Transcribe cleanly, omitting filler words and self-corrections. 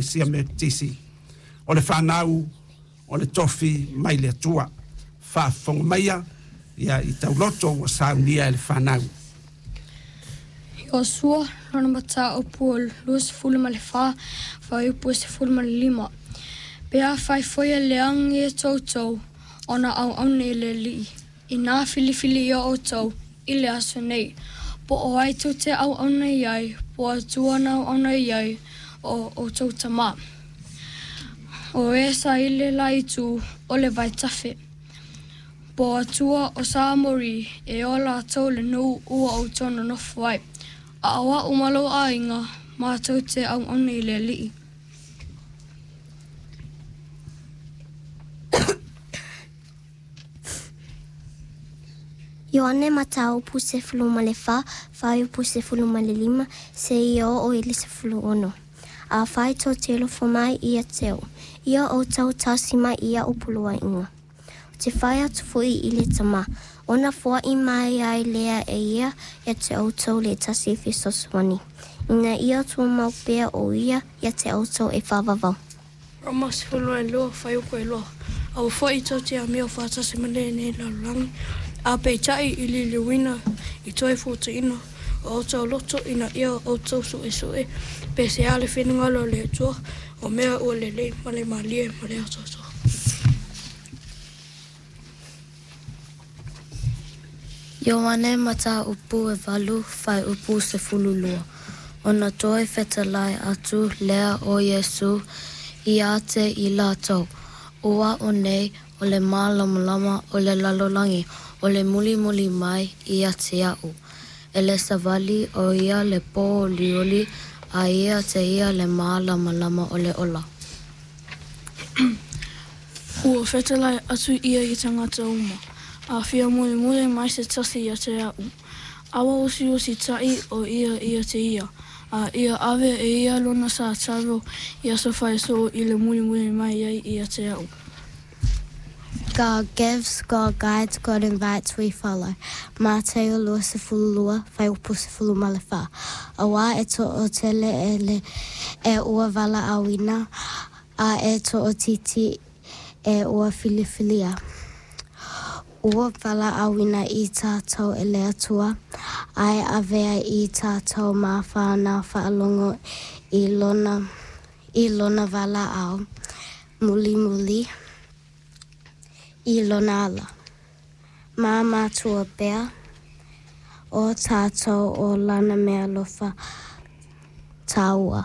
Ekalesia Metotisi. O le fanau o le tofi mai le Atua. Faafofoga maia ia i tauloto ua saunia e le fanau. Iosua lona mataupu o 24 fuaiupu e 15. Pe afai foi e leaga ia toutou ona auauna i le Alii, inā filifilia outou i le aso nei, po o ai tou te auauna i ai, po o Atua na auauna i ai o outou tamā. O e sa i le la itu o le vaitafe. Po o Atua o sa Amori e o latou le nuu ua outou nonofo ai. A o a'u ma lou aiga, matou te auauna i le Alii. Ioane Mataupu 14, fuaiupu 15 seia oo i le 16. Afai tou te alofa mai ia te a'u, ia outou tausi mai i a'u poloaiga. Ou te fai atu foi i le Tama, ona foai mai ai lea e ia ia te outou le tasi fesoasoani, ina ia tumau pea o ia ia te outou e faavavau. Roma 12, fuaiupu 2. Aua foi tou te amio faatasi ma lenei lalolagi, a peitai i liliuina i toe fuataina o outou loto ina ia outou suesue pe se a le finagalo o le Atua, o mea ua lelei ma le malie ma le atoatoa. Ioane Mataupu e 8, fuaiupu 12. Ona toe fetalai atu lea o Iesu ia te i latou, O a'u nei o le mālamalama o le lalolagi, o le mulimuli mai ia te a'u, e le savali o ia le pōuliuli, a ia te ia le mālamalama o le ola. Ua fetalai atu ia i tagata uma, a fia mulimuli mai se tasi ia te a'u, aua usiusitaʻi o ia ia te ia, a ia ave e ia lona sa taro i aso faisoo i le mulimuli mai ai ia te a'u. God gives, God guides, God invites, we follow. Mateo 22, fuaiupu 14. Auā e toatele e le e ua valaauina, a e toaitiiti e ua filifilia. Ua valaauina i tātou e le Atua, a e avea i tātou ma whānau faalogo i lona, i lona valaau mulimuli i lona ala. Ma matua pea o tātou o lana mea alofa tāua.